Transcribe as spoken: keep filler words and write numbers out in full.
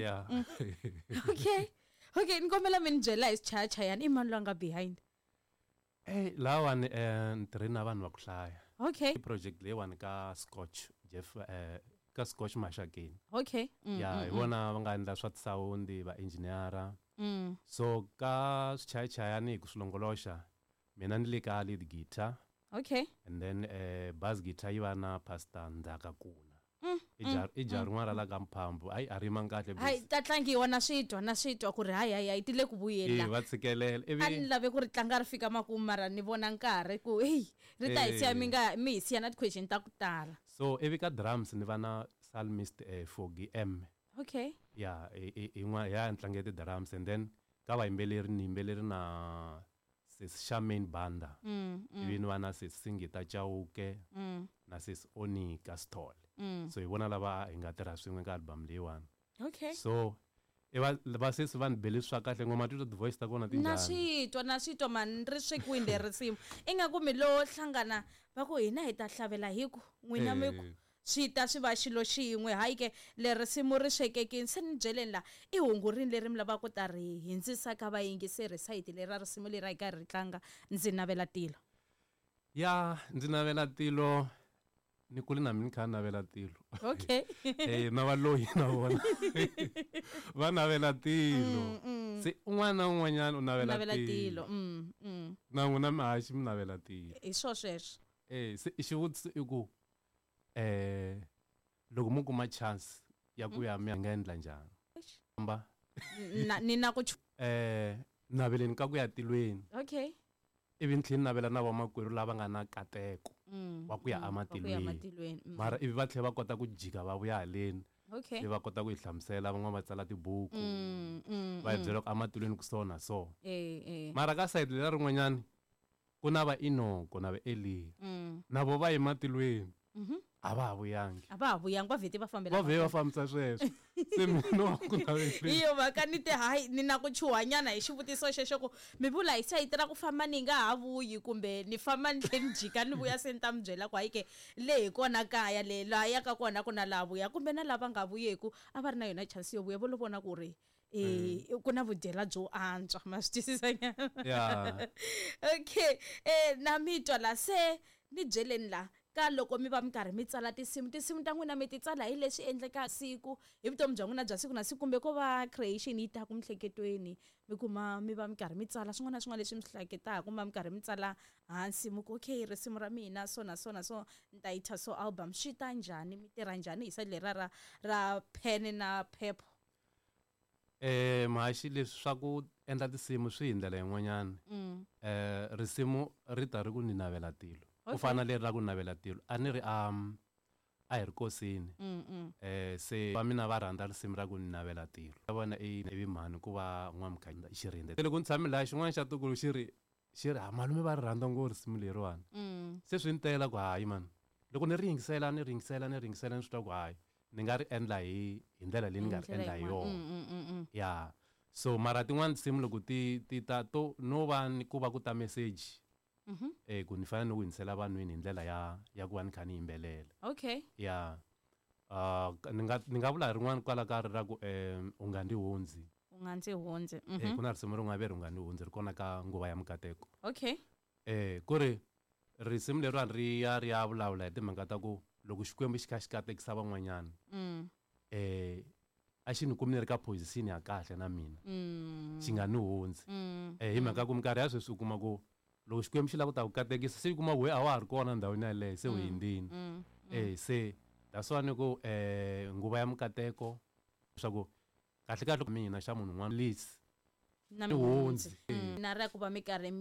Yeah. Okay, okay, ni kombela mi ni byela hi swichayachayani, i mani loyi a nga behind? Eh, lawani eh ni tirhe na vanhu va ku hlaya. Okay. I project leyiwani ka Scotch Jeff, eh ka Scotch Maxakeni. Okay. Mm, ya, hi mm, vona va nga endla swa tisawundi, va engineer. Mm. So ka swichayachayani hi ku swi longoloxa, mina ni le ka lead guitar. Okay. And then eh bass guitar yi va na Pastor Ndzaka Kuna. Mm, I jar, mm, i jar mm. rin'wana ra la ka Mphambu. Hayi, a rima kahle Hayi, bese. ta tlangiwa na swi twa, na swi twa ku ri hayi, hayi, hayi, ti le ku vuyeni Eh, la. va tshikelela. Ivi A ni lave ku ri tlanga ri fika makumu, mara ni vona nkarhi ku, hey, ri ta hi siya mi Eh. nga, mi hi siya na ti-question ta ku tala. So ivi ka drums ni va na Psalmist, eh, Fogi M. Okay. Ya, i, i, i n'wa, ya ni tlange ti-drums, and then ka vayimbeleri ni yimbeleri na Sis Charmaine Banda. Mm, mm. Ivi ni va na Sis Singita Chauke Mm. na Sis Onika Sithole. Mm. So hi vona lava hi nga tirha swin'we ka album leyiwani. Okay. So i va, va sesi va ni bele swa kahle ngoma, titwa ti-voice ta kona ti Na njhani? swi twa, na swi twa mani, ri swekiwini leri risimu. Ingaku mi lo hlangana va ku hina hi ta hlavela hi ku n'wina mi ku Eh. swi ta swi va xilo xin'we. Hayi ke, leri risimu ri swekekini. Se ni byeleni la, i hungu rini leri mi lavaka ku ta ri hindzisa ka vayingiseri sayiti leri ra risimu leri a hi karhi ri tlanga, Ndzi Navela Tilo? Ya, Ndzi Navela Tilo, ni kule na mina ni kha ni navela tilo. Okay. Eh, na valoyi na vona va navela tilo. Mm, mm. Se un'wana na un'wanyana u navela Navela tilo. tilo. Mm, mm. Na n'wina mihaxi mi navela tilo. Hi swo sweswo. Eh, se xivutiso i ku, eh, loko mo kuma chance ya ku ya mi nga endla njhani? Eish. Famba. Na, ni na ku chu- Eh, naveleni ka ku ya tilweni. Okay. Ivi ni tlhela ni navela na vamakwerhu lava nga na nkateko Mm, wa ku ya mm, wa ku ya ematilweni. ematilweni, mm. Mara ivi va tlhela va kota ku jika va vuya haleni. Okay. Se va kota ku hi hlamusela, van'wana va tsala tibuku. Mm, mm, Va hi mm. byela ku ematilweni ku so na so. Eh, eh. Mara ka side leri rin'wanyani ku na va Enoko na va Eliya. Mm. Na vo va ematilweni. Mhm. A va ha vuyangi. A va ha vuyangi, va vhete va fambela Va vhe va mahlweni. fambisa sweswo. Se mina wa ku naveleni. Hi yo mhaka ni te hayi, ni na ku chuhanyana hi xivutiso xexo ku mi vula hi sayiti ra ku famba ni nga ha vuyi, kumbe ni famba ni tlhela ni jika ni vuya, se ni ta mi byela ku hayi ke le hi kona kaya le laha yaka kona ku na laha vuya, kumbe na lava nga vuyeku a va ri na yona chance yo vuya, vo lo vona ku ri eh, ku na vudyela byo antswa, ma swi twisisa nyana? Yeah. Okay, eh, na mi twa la, se ni byeleni la ka loko mi va mi karhi mi tsala tinsimu, tinsimu ta n'wina mi ti tsala hi leswi endlekaka siku, hi vutomi bya n'wina bya siku na siku, kumbe ko va creation yi taka miehleketweni, mi kuma mi va mi karhi mi tsala swin'wana na swin'wana leswi mi swi hleketaka, kumbe mi karhi mi tsala hansi mi ku okay, risimu ra mina so na so na so, ni ta yi thya so album, swi ta njhani, mi tirha njhani hi side leri ra, ra pen na paper? Eh, mhaxi, leswi swa ku endla tinsimu swi hi ndlela yin'wanyana. Mm. Eh, risimu ri ta ri ku ni navela tilo. Ku Okay. fana na leri ra ku navela tilo, a ni ri, um, a hi ri kosini. Mm, mm. Eh, se va mina va rhandza risimu ra ku ni navela tilo. Va vona i ivi mhani ku va n'wamkhanya xirindze. Loko ni tshame laha xin'wana xa tukulu xi ri, xi ri, ha malume va ri rhandza ngopfu risimu leriwani. Mm. Se swi ni tela ku hayi mani. Loko ni ri yingisela, ni ri yingisela, ni ri yingisela, ni swi twa ku hayi, ni nga ri endla hi, hi ndlela leyi ni nga ri Hi ndlela endla hi yin'wana. yona. Mm, mm, mm, mm. Ya. So mara tin'wani tinsimu loko ti, ti ta to no va ni ku va ku ta message. Mhm. Eh, ku ni fanele ni ku hundzisela vanhwini hi ndlela ya, ya ku va ni kha ni yimbelela. Okay. Ya. Ah, ni nga, ni nga vula rin'wana kwala ka ri ra ku, eh, u nga ndzi hundzi. U nga ndzi hundzi. Eh, Mhm. ku na risimu rin'wana ve ri u nga ndzi hundzi, ri kona ka nguva ya mikateko. Okay. Eh, ku ri risimu leriwani ri ya ri ya vulavula hi timhaka ta ku loko Xikwembu xi kha xi katekisa van'wanyana, Mm. eh, a xi ni kumi ni ri ka position ya kahle na mina. Mm. Xi nga ni hundzi. Mm. Eh, hi mhaka ku minkarhi ya sweswi u kuma ku loko Xikwembu xi lava ku ta ku katekisa, se u kuma ku we a wa ha ri kona ndhawini yaleyo, se u Mm. hundzile. Mm. Eh, se that's why ni ku, eh, nguva ya mikateko, leswaku kahle kahle mina xa munhu un'wana, please. Na Ni hundzi. Mm. Na ra ku va mi karhi mi